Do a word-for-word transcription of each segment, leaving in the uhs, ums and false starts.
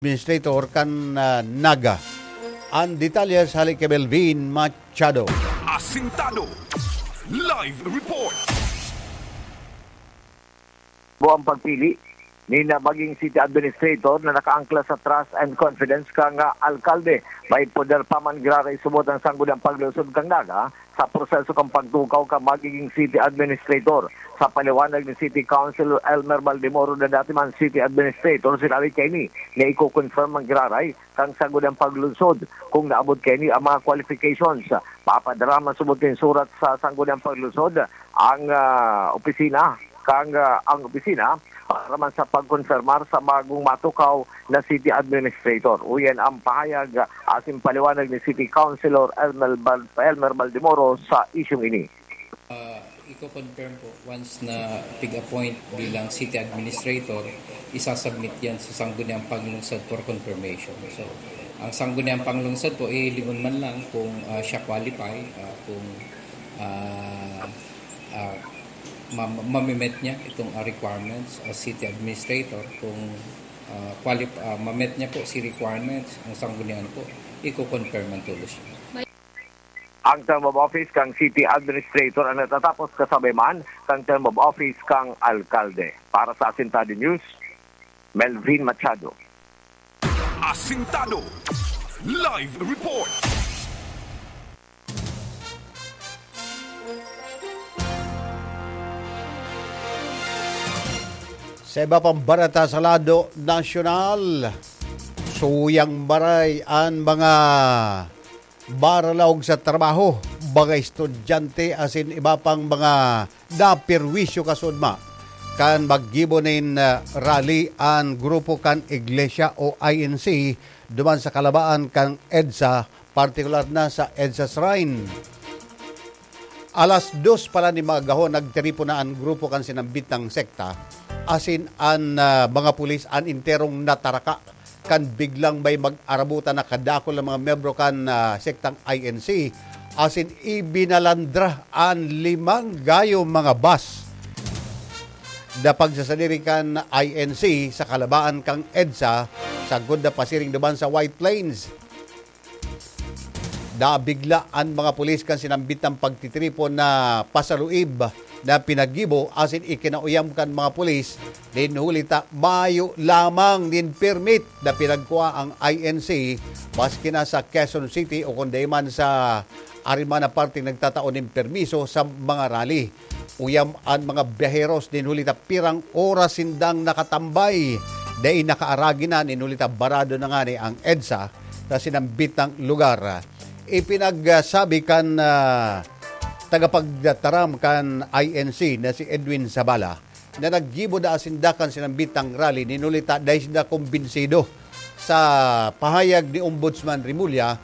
Administrator kan, ah, Naga. Ang detalye sa hali kay Melvin Machado. Asintado. Live report. Buang pagpili ni na maging city administrator na nakaangkla sa trust and confidence kan, ah, alkalde. May poder pa man giraray subot ang Sangguniang Paglungsod kan Naga sa proseso kan pagtukaw kan magiging city administrator. Sa paliwanag ni City Councilor Elmer Baldemoro na dati man city administrator, sinabi kaini na iko-confirm man giraray kan Sangguniang Paglungsod kung naabot kaini ang mga qualifications. Papadrama subot nin surat sa Sangguniang Paglungsod ang, ah, opisina, kang, ah, ang opisina para man sa pagkonfirmar sa bagong matukaw na city administrator. Uyan ang pahayag, ah, asin paliwanag ni City Councilor Elmer Bal-, Elmer Baldemoro sa isyung ini. Ah, iko-confirm po, once na pig-appoint bilang city administrator, isasubmit yan sa Sangguniang Paglungsod for confirmation. So, ang Sangguniang Paglungsod po, ilingon man lang kung, ah, siya qualify, ah, kung, ah, ah, ma-, mamimet niya itong, ah, requirements as city administrator, kung, ah, qualif-, ah, mamet niya po si requirements, ang Sangguniang po, iko-confirm man tulos siya. Ang term of office kang city administrator ang natatapos kasabay man kang term of office kang alkalde. Para sa Asintado News, Melvin Machado. Asintado. Live report. Sa iba pang bareta sa lado nasyonal, suyang maray an mga baralaog sa trabaho, mga estudyante asin iba pang mga naperwisyo kasunod ma kan maggibo nin, ah, rally an grupo kan iglesia o I N C duman sa kalabaan kan EDSA, partikular na sa EDSA Shrine. Alas dos pala ni magahon, nagtiripon na an grupo kan sinambitang sekta, asin an, ah, mga pulis an enterong nataraka kan biglang may mag-arabutan na kadakul na mga miyembro kan, ah, sektang I N C, asin ibinalandra an limang gayo mga bus na pagsasadiri kan I N C sa kalabaan kan EDSA, sagkod na pasiring duman sa White Plains. Nabigla an mga pulis kan sinambitang pagtitiripon na pasaluib na pinaggibo asin ikinauyam kan mga pulis nin huli ta mayo lamang nin permit na pinagkua ang I N C, maski na sa Quezon City o kun dai man sa ari man na parteng nagtatao nin permiso sa mga rally. Uyam an mga biyaheros nin huli ta pirang oras sindang nakatambay, dai nakaaragi na nin huli ta barado na ngani ang EDSA sa sinambitang lugar. Ipinagsabi kan, ah, tagapagtaram kan I N C na si Edwin Zabala na naggibo daa sinda kan sinambitang rally nin huli ta dai sinda kumbinsido sa pahayag ni Ombudsman Remulla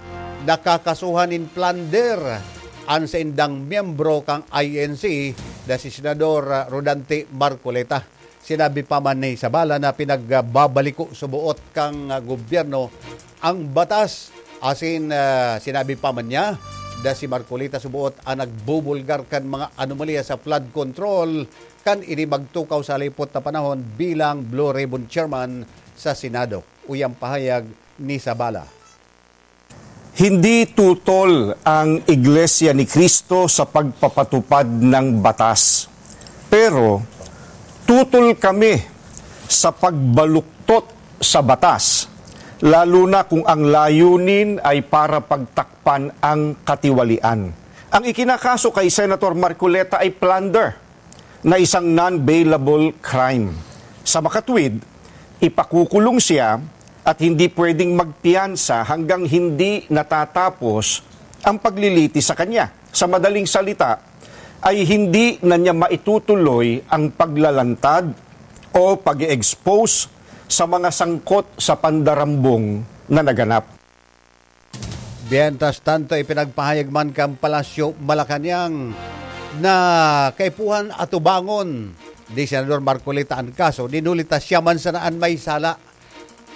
na kakasuhan nin plunder an saindang miyembro kan I N C na si Senador Rodante Marcoleta. Sinabi pa man ni Zabala na pinagbabaliko suboot kan gobyerno ang batas. Asin, ah, sinabi pa man niya na si Marcoleta suboot an nagbubulgar kan mga anomalya sa flood control kan ini magtukaw sa halipot na panahon bilang Blue Ribbon Chairman sa Senado. Uyang pahayag ni Zabala. Hindi tutol ang Iglesia ni Cristo sa pagpapatupad ng batas. Pero tutol kami sa pagbaluktot sa batas, lalo na kung ang layunin ay para pagtakpan ang katiwalian. Ang ikinakaso kay Senator Marcoleta ay plunder na isang non-bailable crime. Sa makatwid, ipakukulong siya at hindi pwedeng magpiyansa hanggang hindi natatapos ang paglilitis sa kanya. Sa madaling salita, ay hindi na niya maitutuloy ang paglalantad o pag-expose sa mga sangkot sa pandarambong na naganap. Mientras tanto, ipinagpahayag man kan Palasyo Malacañang na kaipuhan atubangon ni Senador Marcoleta an kaso, nin huli ta siya man sana an may sala.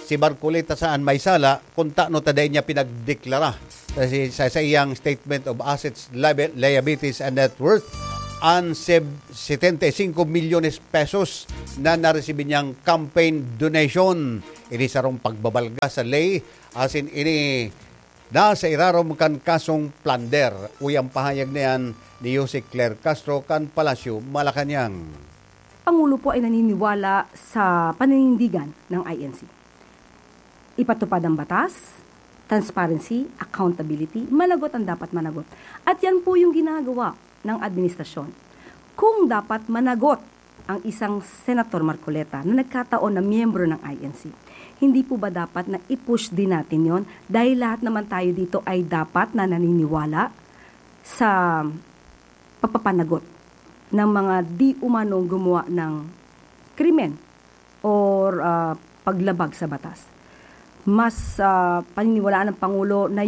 Si Marcoleta sana an may sala, kun tano ta dai niya pinagdeklara sa, sa, sa iyang Statement of Assets, Liabi-, Liabilities and Net Worth. an seb-, setenta y cinco milyones pesos na naresibi niyang campaign donation. Ini sarong pagbabalga sa ley, asin ini nasa irarom kan kasong plunder. Uya an pahayag na yan ni Jose Claire Castro kan Palasyo, Malacañang. Pangulo po ay naniniwala sa paninindigan ng I N C. Ipatupad ang batas, transparency, accountability, managot ang dapat managot. At yan po yung ginagawa ng administrasyon. Kung dapat managot ang isang Senator Marcoleta na nagkataon na miyembro ng I N C, hindi po ba dapat na i-push din natin yon? Dahil lahat naman tayo dito ay dapat na naniniwala sa pagpapanagot ng mga di umanong gumawa ng krimen or, ah, paglabag sa batas. Mas, ah, paniniwalaan ng Pangulo na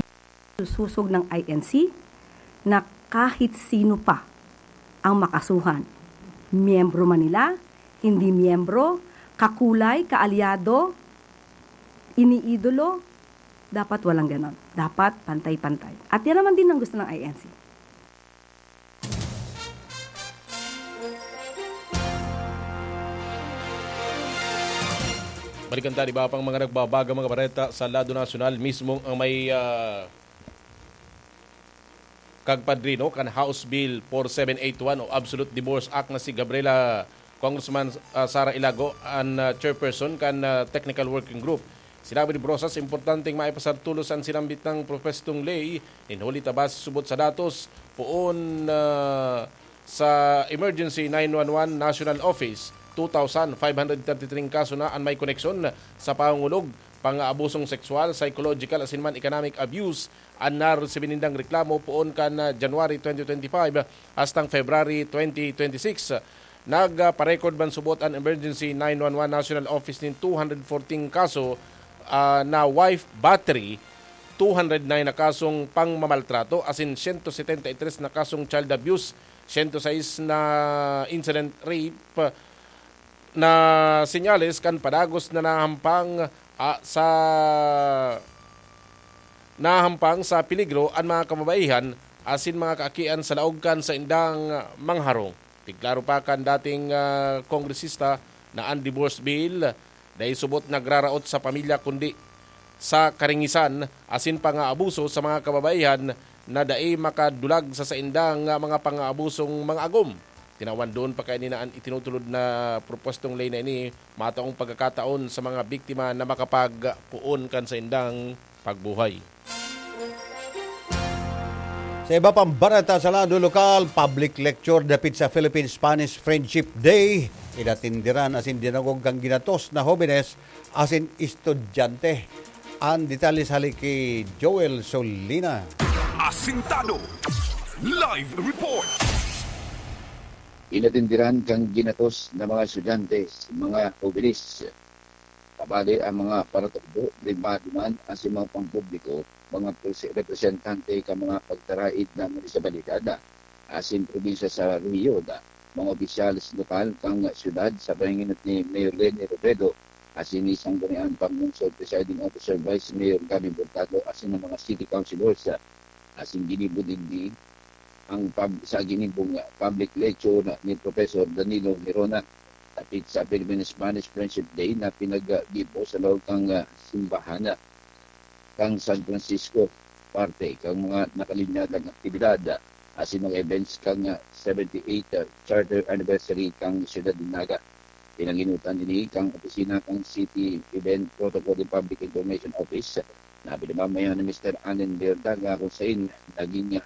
susosog ng I N C na kahit sino pa ang makasuhan. Miyembro man nila, hindi miyembro, kakulay, kaalyado, iniidolo, dapat walang ganon. Dapat pantay-pantay. At yan naman din ang gusto ng I N C. Balikan ta, di ba, pang mga nagbabaga mga bareta sa lado nasyonal, mismong ang may, ah, kagpadrino kan House Bill four seven eight one o Absolute Divorce Act na si Gabriela, Congressman, ah, Sara Ilago, an, ah, chairperson kan, ah, technical working group. Sinabi ni Brosas, importanteng maipasartulos an sinambit ng propestong ley, nin huli ta base subot sa datos, poon, ah, sa Emergency nine one one National Office, two thousand five hundred thirty-three kaso na an may koneksyon sa pangungulog, pang-aabusong sexual, psychological, asin man economic abuse an naresibi nindang reklamo poon kan, ah, January twenty twenty-five hastang February twenty twenty-six. Nagparecord man subot an Emergency nine one one National Office nin two hundred fourteen kaso, ah, na wife battery, two hundred nine na kasong pangmamaltrato, asin siyento setenta y tres na kasong child abuse, siyento sais na incident rape, na senyales kan padagos na nahampang, ah, sa, nahampang sa peligro an mga kababaihan asin mga kaakian sa laog kan saindang mga harong. Pigklaro pa kan dating, ah, kongresista na an divorce bill dai subot nagraraot sa pamilya kundi sa karingisan asin pangaabuso sa mga kababaihan na dai makadulag sa saindang mga pangaabusong mga agom. Tinawan doon pa kaini na an itinutulod na propwestong ley na ini mataong pagkakataon sa mga biktima na makapagpoon kan saindang pagbuhay. Sa iba pang bareta sa lado lokal, public lecture dapit sa Philippine-Spanish Friendship Day. Inatindiran asin dinangog kan ginatos na hobenes asin estudyante. An detalye hale ki Joel Solina. Asintado. Live report. Inatindiran kan ginatos na mga estudyante, mga hobenes. Kabali ang mga paratukdo, rimba duman asin mga pampubliko, mga prese-, representante kan mga pagtaraid na munisipalidad asin probinsya sa rehiyon, mga opisyales lokal kan syudad sa pahinginot ni Mayor Leni Robredo asin ni Sangguniang Panglungsod Presiding Officer Vice Mayor Gabby Hurtado asin ang mga city councilors. Asin ginibo digdi ang pub-, sa ginibong public lecture ni Professor Danilo Gerona dapit sa Philippine-Spanish Friendship Day na pinaggibo sa laog kan, ah, simbahan, ah, kan San Francisco, parte kan mga nakalinyadang aktibidad, ah, asin mga events kan, ah, seventy-eight, ah, Charter Anniversary kan Siyudad nin Naga. Pinanginutan ini kan opisina kan City Event Protocol and Public Information Office na pinamamayan ni Mister Allen Verdaga, kung sain naging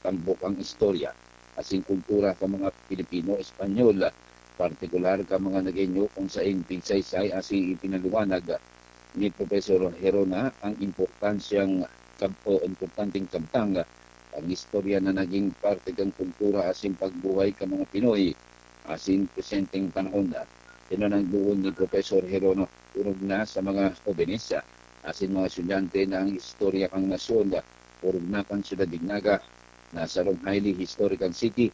tampok ang istorya asin kultura kan mga Pilipino-Espanyol, partikular kan mga Nagueño, kung sain pigsaysay asin ipinaliwanag ni Professor Gerona ang importansyang kab-, o importanteng kabtang ang istorya na naging parte kan kultura asin pagbuhay kan mga Pinoy asin presenteng panahon. Tinananggoon ni Professor Gerona, orog na sa mga hobenes asin mga estudyante na ang istorya kan nasyon, orog na kan Siyudad nin Naga, na sarong highly historical city.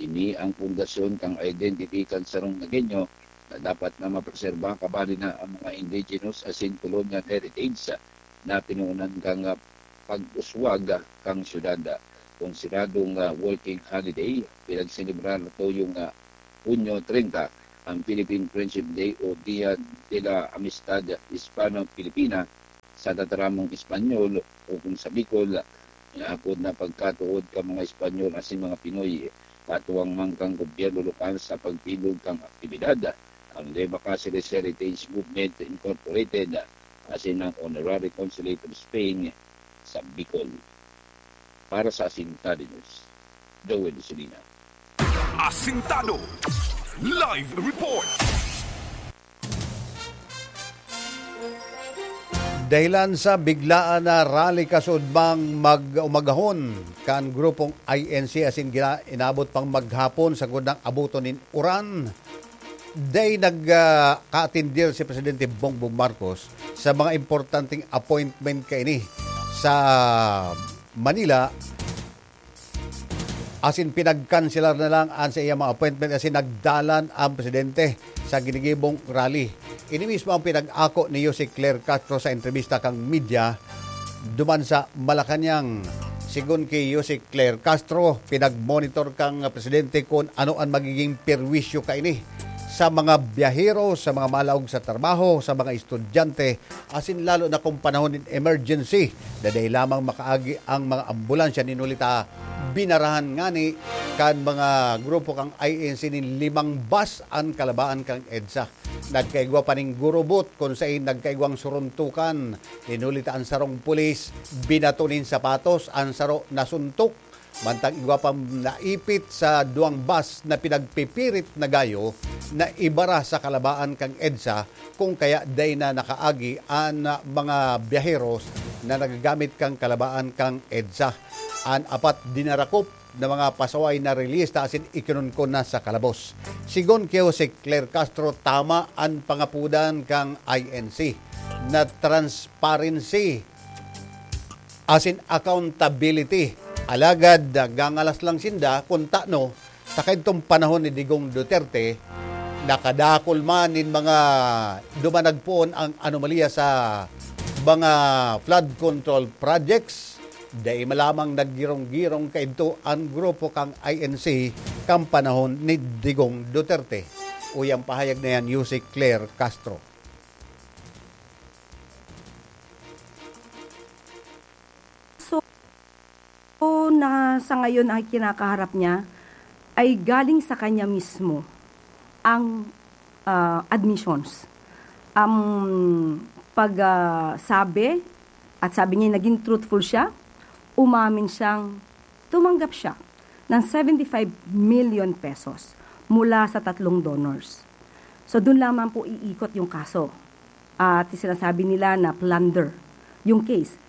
Ini ang pundasyon kan identity kan sarong Nagueño na dapat na mapreserba, kabali na ang mga indigenous asin colonial heritage na pinoonan kan, ah, pag-uswag, ah, kan syudad. konsideradong, ah, working holiday, pinagselebrar tuyong, ah, Hunyo treinta ang Philippine Friendship Day o Dia de la Amistad Hispano-Filipina sa tataramong Espanyol o kung sa Bicol, apod na pagkatuod kan mga Espanyol asin mga Pinoy. Katuwang man kan gobyerno lokal sa pagbilog kan aktibidad, ang Levacas Heritage Movement Incorporated asin ang Honorary Consulate of Spain sa Bicol. Para sa Asintado News, Joel Solina. Asintado Live Report. Dahilan sa biglaan na rally kasudmang mag-umagahon kan grupong I N C asin gina- inabot pang maghapon sagkod nang abuton nin uran. Day nagkaatindir si Presidente Bongbong Marcos sa mga importanteng appointment kaini sa Manila asin pinagkanselar na lang an sa iya mga appointment asin nagdalan ang presidente sa ginigibong rally. Ini mismo ang pinag-ako ni Yusek Claire Castro sa entrebista kan media duman sa Malacañang. Sigon ki Yusek Claire Castro, pinagmonitor kan presidente kun ano an magiging perwisyo kaini sa mga biyahero, sa mga malaog sa trabaho, sa mga estudyante, asin lalo na kung panahon nin emergency, na dai lamang makaagi ang mga ambulansya nin huli ta binarahan ngani kan mga grupo kan I N C nin limang bus an kalabaan kan EDSA. Nagkaigwa pa nin gurubot kun sain nagkaigwang suruntukan nin huli ta an sarong pulis binato nin sapatos, an saro nasuntok. Mantang igwa pang naipit sa duwang bus na pinagpipirit na gayo na ibara sa kalabaan kan EDSA, kung kaya dai na nakaagi an mga biyaheros na nagagamit kan kalabaan kan EDSA. An apat dinarakop na mga pasaway na release ta asin ikinunkon na sa kalabos. Sigon ki Jose Claire Castro, tama an pangapudan kan I N C na transparency asin accountability. Alagad gangalas lang sinda kun tano sa kaidtong panahon ni Digong Duterte, nakadakol man nin mga dumanagpoon ang anomalya sa mga flood control projects, dai man lamang naggirong-girong kaidto an grupo kan I N C kan panahon ni Digong Duterte. Uya an pahayag na yan, Yusek Claire Castro. So, na sa ngayon ay kinakaharap niya ay galing sa kanya mismo ang ah, admissions. Ang pagsabi, at sabi niya naging truthful siya, umamin siyang tumanggap siya ng seventy-five million pesos mula sa tatlong donors. So doon lamang po iikot yung kaso. At sinasabi nila na plunder yung case.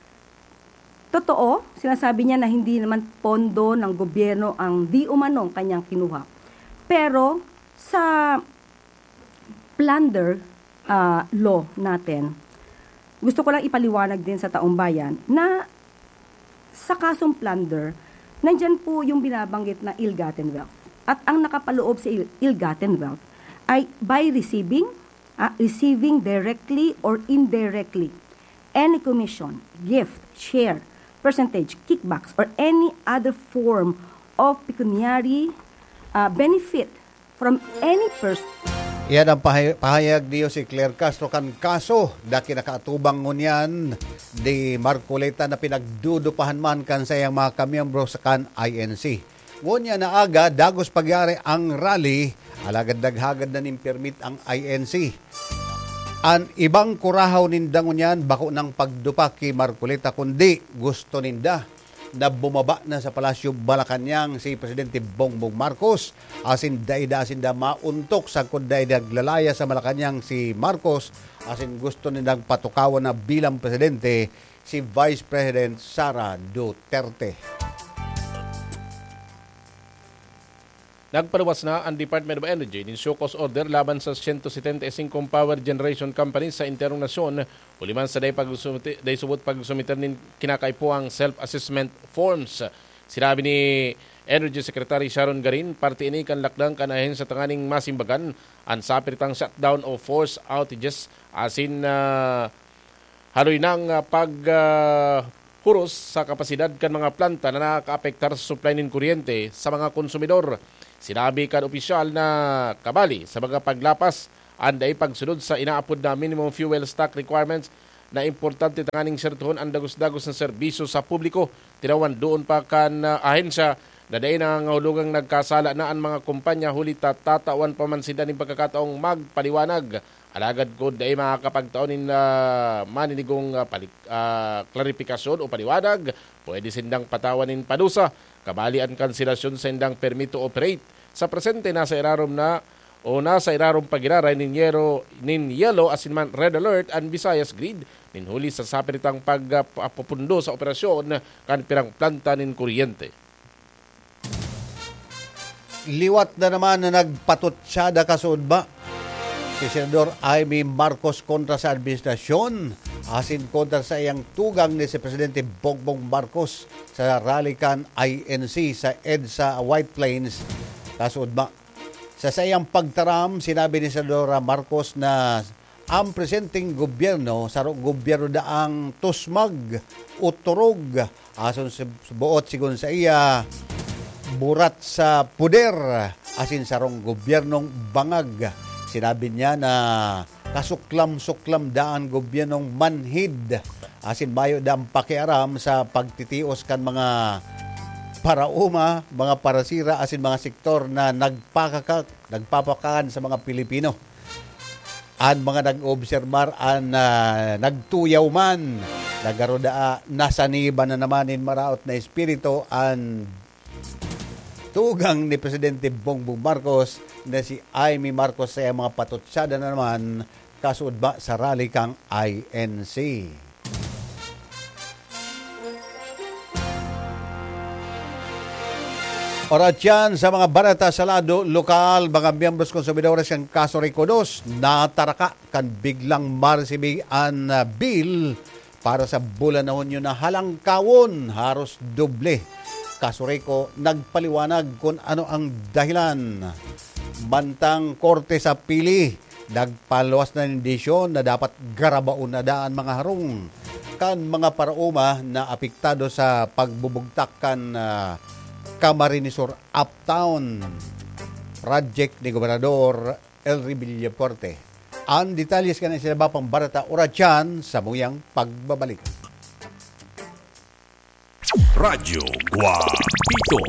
Totoo, sinasabi niya na hindi naman pondo ng gobyerno ang di umanong kanyang kinuha. Pero sa plunder ah, law natin, gusto ko lang ipaliwanag din sa taong bayan na sa kasong plunder, nandyan po yung binabanggit na ill-gotten wealth. At ang nakapaloob sa ill- ill-gotten wealth ay by receiving, ah, receiving directly or indirectly any commission, gift, share, percentage, kickbacks, or any other form of pecuniary ah, benefit from any person. Iyan ang pahay- pahayag ni Jose Claire Castro kan kaso na kinakaatubang ngunyan ni Marcoleta na pinagdudupahan man kan sayang mga kamiyembro sa kan I N C. Ngunyan na aga, dagos pagyari ang rally, alagad naghagad na nin permit ang I N C. An ibang kurahaw ninda ngunyan bako nang pagdupa ki Marcoleta, kundi gusto ninda na bumaba na sa Palasyo Malacañang si Presidente Bongbong Marcos, asin dai da sinda maontok sagkod dai naglalaya sa Malacañang si Marcos, asin gusto nindang patukawon na bilang presidente si Vice President Sara Duterte. Nagpaluwas na an Department of Energy nin show cause order laban sa siyento setenta y singkong power generation companies sa enterong nasyon, huli man sa dai pagsumite-, dai subot pagsumiter nin kinakaipuhang self-assessment forms. Sinabi ni Energy Secretary Sharon Garin, parte ini kan lakdang kan ahensya tanganing masimbagan an sapiritang shutdown o forced outages asin, ah, haloy nang, ah, pag, ah, huros sa kapasidad kan mga planta na nakaapektar sa supply nin kuryente sa mga konsumidor. Sinabi kan opisyal na kabali sa mga paglapas an dai pagsunod sa inaapod na minimum fuel stock requirements na importante tanganing sertohon an dagos-dagos na serbisyo sa publiko. Tinawan doon pa kan, ah, ahensya na dai nangangahulugang nagkasala na an mga kumpanya, huli ta tatawan pa man sinda nin pagkakataong magpaliwanag. Alagad kun dai makakapagtao nin, ah, maninigong, ah, palik-, ah, klaripikasyon o paliwanag, pwede sindang patawan nin padusa, kabali an kanselasyon sa indang permit to operate. Sa presente, nasa irarom na o nasa irarom pa giraray nin yero, nin yellow asin man red alert an Visayas Grid, nin huli sa sapiritang pag, ah, papupundo sa operasyon kan pirang planta nin kuryente. Liwat na naman na nagpatutsada kasuodma si Senador Imee Marcos kontra sa administrasyon asin kontra sa iyang tugang ni si Presidente Bongbong Marcos sa rally kan I N C sa EDSA White Plains kasuodma. Sa saiyang pagtaram, sinabi ni Senadora Marcos na ang presenteng gobyerno, sarong gobyerno daang tusmag o turog, ason sa buot sigon sa iya, burat sa poder, asin sarong gobyernong bangag. Sinabi niya na kasuklam-suklam daan gobyernong manhid, asin mayo daan pakiaram sa pagtitios kan mga paraoma, mga parasira, asin mga sektor na nagpakaka-, nagpapakaan sa mga Pilipino. An mga nag-obserbar an, ah, nagtuyaw man, nagaroda, nasaniban na naman nin maraot na espiritu an tugang ni Presidente Bongbong Marcos na si Imee Marcos sa mga patutsada na naman kasuodma sa rally kan I N C. Oras yan sa mga bareta sa lado lokal, mga miyembros konsumidores kan Casureco dos, nataraka kan biglang maresibi an, ah, bill para sa bulan na Hunyo na halangkawon, haros doble. Casureco nagpaliwanag kun ano ang dahilan. Mantang korte sa Pili, nagpaluwas na nin desisyon na dapat garabaon na daa an mga harong kan mga paraoma na apektado sa pagbubugtak kan, ah, Camarines Sur Uptown project ni Gobernador Elry Villafuerte. Ang detalye kan iba pang bareta, oras yan, samuyang pagbabalik. Radyo Guapito.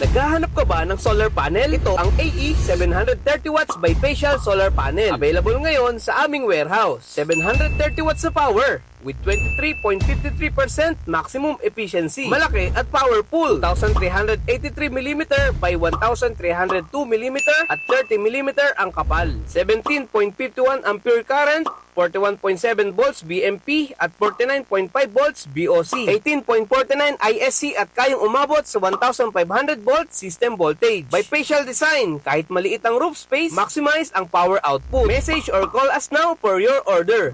Naghahanap ka ba ng solar panel? Ito ang A E seven hundred thirty watts bifacial solar panel. Available ngayon sa aming warehouse. Seven hundred thirty watts na power with twenty-three point fifty-three percent maximum efficiency. Malaki at powerful. Two thousand three hundred eighty-three millimeter by one thousand three hundred two millimeter at thirty millimeter ang kapal. Seventeen point fifty one ampere current, forty-one point seven volts B M P at forty-nine point five volts B O C, eighteen point forty-nine I S C at kayang umabot sa one thousand five hundred volt system voltage. Bifacial design, kahit maliit ang roof space, maximize ang power output. Message or call us now for your order.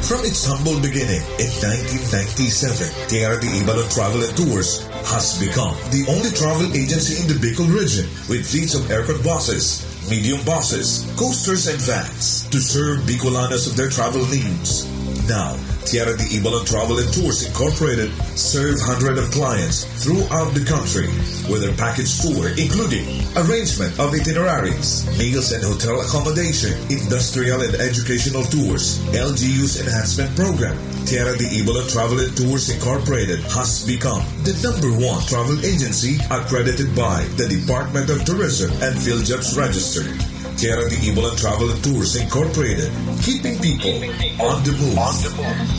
From its humble beginning in nineteen ninety-seven, Tierra de Ibalon Travel and Tours has become the only travel agency in the Bicol region with fleets of aircon buses, medium buses, coasters, and vans to serve Bicolanos of their travel needs. Now, Tierra de Ibalon Travel and Tours Incorporated serve hundreds of clients throughout the country with their package tour, including arrangement of itineraries, meals and hotel accommodation, industrial and educational tours, L G U's enhancement program. Tierra de Ibalon Travel and Tours Incorporated has become the number one travel agency accredited by the Department of Tourism and PhilJobs Register. Tierra de Ibalon Travel and Tours Incorporated, keeping people on the move.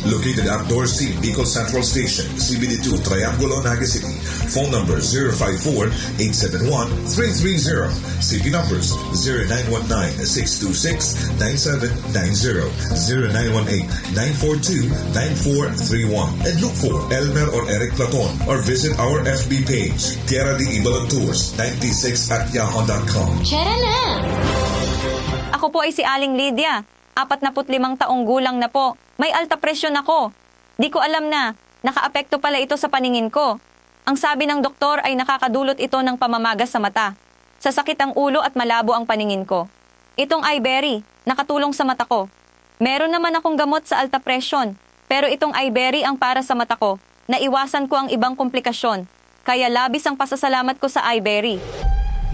Located at Dorsey, Bicol Central Station, C B D two, Triangulo, Naga City. Phone number zero five four, eight seven one, three three zero. C P numbers zero nine one nine, six two six, nine seven nine zero, zero nine one eight, nine four two, nine four three one. And look for Elmer or Eric Platon or visit our F B page, Tierra de Ibalon Tours ninety-six at yahoo dot com. Tara na! Ako po ay si Aling Lydia. Apat na put limang taong gulang na po. May alta presyon ako. Di ko alam na nakaapekto pala ito sa paningin ko. Ang sabi ng doktor ay nakakadulot ito ng pamamaga sa mata, sasakit ang ulo at malabo ang paningin ko. Itong Iberry, nakatulong sa mata ko. Meron naman akong gamot sa alta presyon, pero itong Iberry ang para sa mata ko. Naiwasan ko ang ibang komplikasyon, kaya labis ang pasasalamat ko sa Iberry.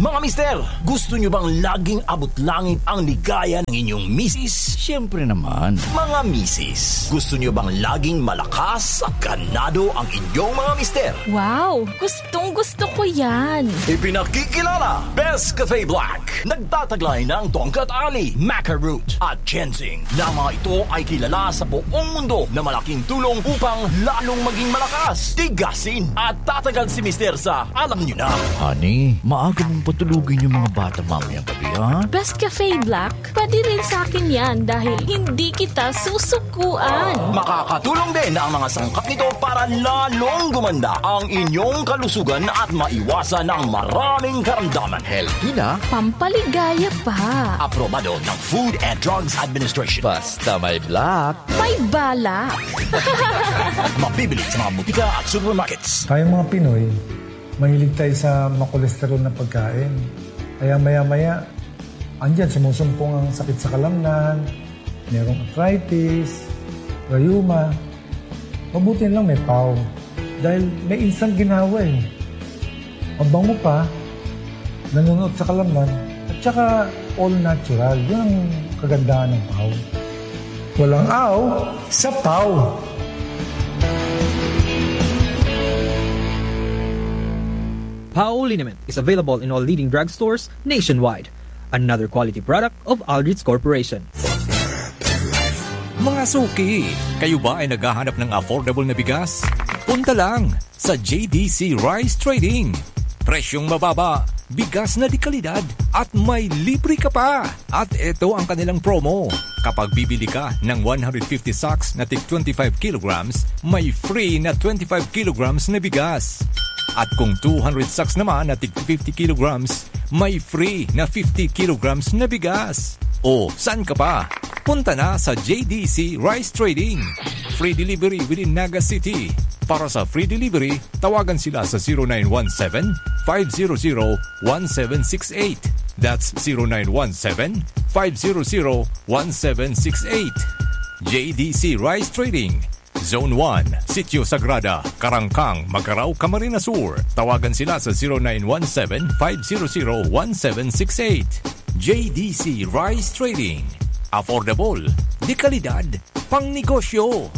Mga mister, gusto nyo bang laging abot langit ang ligaya ng inyong misis? Siyempre naman. Mga misis, gusto nyo bang laging malakas at ganado ang inyong mga mister? Wow! Gustong gusto ko yan! Ipinakikilala, Best Cafe Black. Nagtataglay ng tongkat ali, maca root, at ginseng, na mga ito ay kilala sa buong mundo na malaking tulong upang lalong maging malakas, tigasin, at tatagal si mister sa alam nyo na. Honey, maaga mong patulugin yung mga bata mamayang gabi, ha? Best Cafe Black, pwede rin sa akin yan dahil hindi kita susukuan. Makakatulong din ang mga sangkap nito para lalong gumanda ang inyong kalusugan at maiwasan ang maraming karamdaman. Healthy na, pampaligaya pa. Aprobado ng Food and Drugs Administration. Basta may black, may balak. Mabibili sa mga butika at supermarkets. Tayong mga Pinoy, mahilig tayo sa makolesterol na pagkain. Kaya maya-maya, andyan sumusumpong ang sakit sa kalamnan, merong arthritis, rayuma. Mabuti lang may pau. Dahil may instant ginawa eh. Mabango pa, nanunuot sa kalamnan, at saka all natural. Yun ang kagandahan ng pau. Walang aw sa pau. Pau liniment is available in all leading drugstores nationwide. Another quality product of Aldrich Corporation. Mga suki, kayo ba ay naghahanap ng affordable na bigas? Punta lang sa J D C Rice Trading. Presyong mababa, bigas na de kalidad, at may libre ka pa! At ito ang kanilang promo. Kapag bibili ka ng one hundred fifty sacks na tig twenty-five kilograms, may free na twenty-five kilograms na bigas. At kung two hundred sacks naman na tig fifty kilograms, may free na fifty kilograms na bigas. O saan ka pa? Punta na sa J D C Rice Trading. Free delivery within Naga City. Para sa free delivery, tawagan sila sa zero nine one seven, five zero zero, one seven six eight. That's zero nine one seven, five zero zero, one seven six eight. J D C Rice Trading, Zone one, Sitio Sagrada, Karangkang, Magarao, Camarines Sur. Tawagan sila sa zero nine one seven, five zero zero, one seven six eight. J D C Rice Trading. Affordable, de kalidad, pangnegosyo.